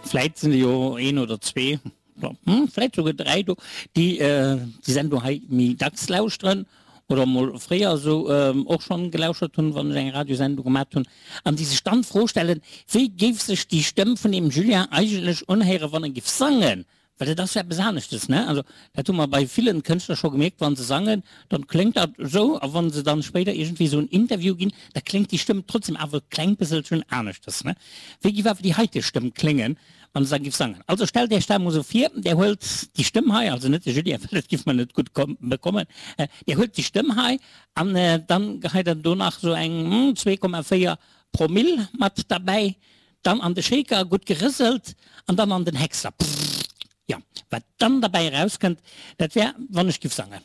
Vläit sinn der jo een oder zwee, vläit souguer 3 do, déi déi Sendung hei méi dacks lauschteren oder mol fréier esou och schonn gelauschert hunn, wann ech eng Radiosendung gemat hunn, an déi sech dann d'Fro stellen, wéi géif sech déi Stëmm vun deem Julien eigentlech unhéieren, wann e géif sangen? Well dat ass jo eppes aneschtes, ne? Also dat hu mer bei villen Kënschtler scho gemierkt, wa se sangen, dann kléngt dat esou, a wa se dann spéider iergendwéi esou en Interview ginn, da kléngt déi Stëmm trotzdem awer e kleng bësselchen aneschtes, ne? Wéi giff awer déi heite Stëmm kléngen, wann se da giff sangen? Also stellt Iech dat emol esou vir, Där huelt déi Stëmm hei, also net de Julien, well dat giff mer net gutt bekommen, Där huelt déi Stëmm hei an dann geheit Der do nach esou eng 2,4 Promille mat derbäi, Dann an de Shaker, gutt gerëselt an dann an den Hexer. Jo, wat dann derbäi erauskënnt, dat wär, wann ech giff sangen.